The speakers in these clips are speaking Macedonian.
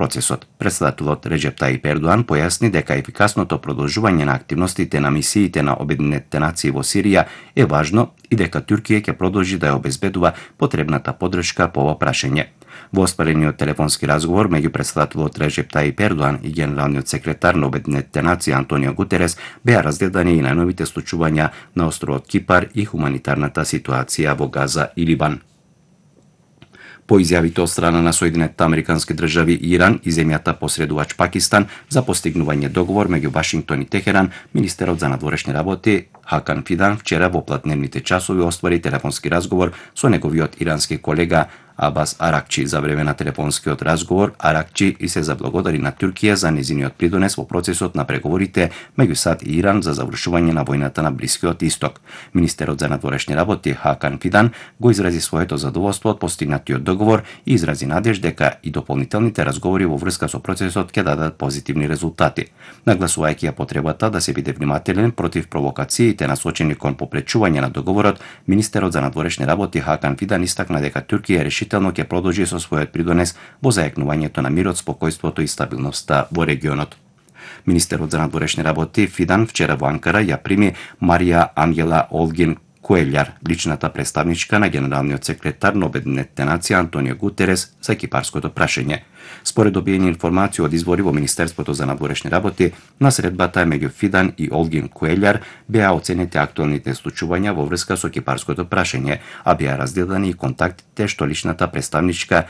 процесот. Председателот Реджеп Таип Ердоан појасни дека ефикасното продолжување на активностите на мисиите на Обединетите нации во Сирија е важно и дека Туркија ќе продолжи да ја обезбедува потребната поддршка по ова прашање. Во оспарениот телефонски разговор меѓу председателот Реджеп Таип Ердоан и генералниот секретар на Обединетите нации Антонио Гутерес беа разгледани и најновите случувања на островот Кипар и хуманитарната ситуација во Газа и Либан. По изјавите од страна на Соединетите Американски држави и Иран и земјата посредувач Пакистан за постигнување договор меѓу Вашингтон и Техеран, министерот за надворешни работи Хакан Фидан вчера во платневните часови оствари телефонски разговор со неговиот ирански колега Абас Аракчи. За време на телефонскиот разговор Аракчи и се заблагодари на Туркија за незиниот придонес во процесот на преговорите меѓу САД и Иран за завршување на војната на Блискиот Исток. Министерот за надворешни работи Хакан Фидан го изрази своето задоволство од постигнатиот договор и изрази надеж дека и дополнителните разговори во врска со процесот ќе дадат позитивни резултати. Нагласувајќи ја потребата да се биде внимателен против провокациите насочени кон попречување на договорот, министерот за надворешни работи Хакан Фидан истакна дека Туркија решително ќе продолжи со својот придонес во зајакнувањето на мирот, спокојството и стабилноста во регионот. Министерот за надворешни работи Фидан вчера во Анкара ја прими Марија Ангела Олгин Куелјар, личната представничка на генералниот секретар на Обединетите нации Антонио Гутерес за кипарското прашање. Според добиени информации од извори во Министерството за надворешни работи, на средбата меѓу Фидан и Олгин Куелјар беа оценети актуелните случувања во врска со кипарското прашање, а беа разгледани и контактите што личната представничка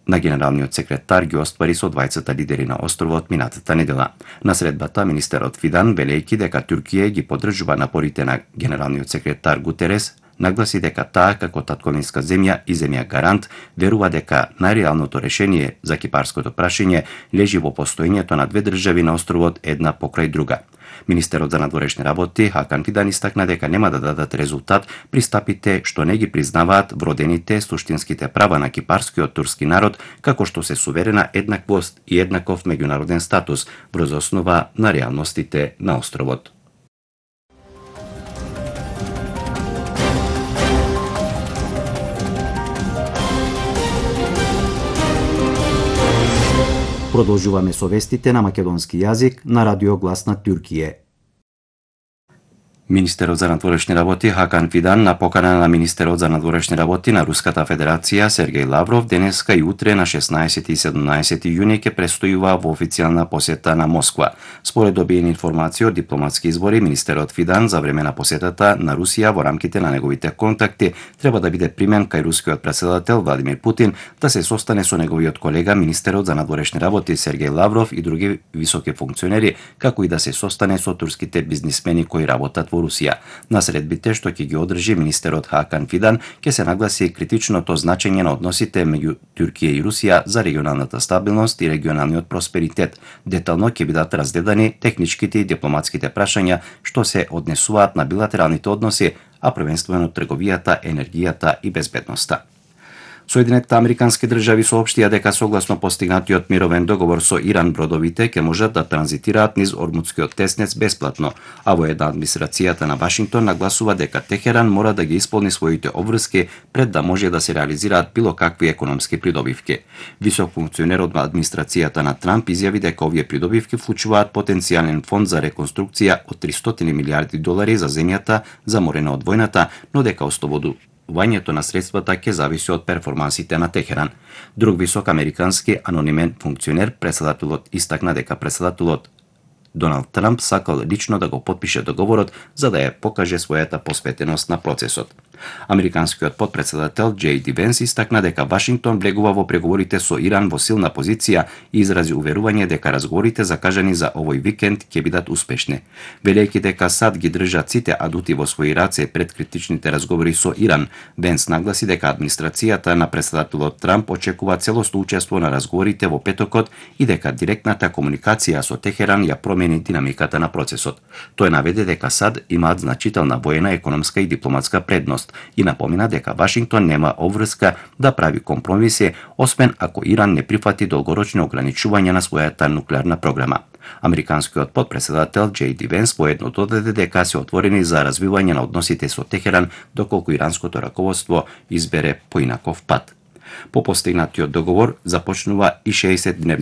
на генералниот секретар ги оствари со двајцата лидери на островот минатата недела. На средбата министерот Фидан, велејќи дека Туркија ги поддржува напорите на генералниот секретар Гутерес, нагласи дека таа како татковинска земја и земја гарант верува дека најреалното решение за кипарското прашање лежи во постоењето на две држави на островот една покрај друга. Министерот за надворешни работи Хакан Фидан истакна дека нема да дадат резултат пристапите што не ги признаваат вродените суштинските права на кипарскиот турски народ, како што се суверена еднаквост и еднаков меѓународен статус врз основа на реалностите на островот. Продолжуваме со вестите на македонски јазик на Радио Глас на Туркија. Министерот за надворешни работи Хакан Фидан на покана на министерот за надворешни работи на Руската Федерација Сергеј Лавров денеска и утре на 16 и 17 јуни ќе престојува во официјална посета на Москва. Според добиени информации од дипломатски извори, министерот Фидан за време на посетата на Русија во рамките на неговите контакти треба да биде примен кај рускиот претседател Владимир Путин да се состане со неговиот колега министерот за надворешни работи Сергеј Лавров и други високи функционери, како и да се состане со турските бизнисмени кои работат во Русија. На средбите што ќе ги одржи министерот Хакан Фидан ќе се нагласи критичното значење на односите меѓу Туркија и Русија за регионалната стабилност и регионалниот просперитет. Детално ќе бидат разгледани техничките и дипломатските прашања што се однесуваат на билатералните односи, а првенствено трговијата, енергијата и безбедноста. Соединетите Американски држави соопштија дека согласно постигнатиот мировен договор со Иран бродовите ќе можат да транзитираат низ Ормутскиот теснец бесплатно, а во една администрацијата на Вашингтон нагласува дека Техеран мора да ги исполни своите обврски пред да може да се реализираат било какви економски придобивки. Висок функционер од администрацијата на Трамп изјави дека овие придобивки вклучуваат потенцијален фонд за реконструкција од $300 милиарди за земјата заморена од војната, но дека ослободувањето на средствата ќе зависи од перформансите на Техеран. Друг висок американски анонимен функционер, председателот истакна дека председателот Доналд Трамп сакал лично да го потпише договорот за да ја покаже својата посветеност на процесот. Американскиот потпредседател Џеј Ди Венс истакна дека Вашингтон влегува во преговорите со Иран во силна позиција и изрази уверување дека разговорите закажани за овој викенд ќе бидат успешни. Велејќи дека САД ги држат сите адути во своји раце пред критичните разговори со Иран, Венс нагласи дека администрацијата на председателот Трамп очекува целосно учество на разговорите во петокот и дека директната комуникација со Техеран ја промени динамиката на процесот. Тој наведе дека САД имаат значителна воена, економска и дипломатска предност и напомина дека Вашингтон нема обврска да прави компромиси, освен ако Иран не прифати долгорочни ограничувања на својата нуклеарна програма. Американскиот потпредседател Џеј Ди Венс поедно додаде дека се отворени за развивање на односите со Техеран доколку иранското раководство избере поинаков пат. По постигнатиот договор започнува и 60-дневни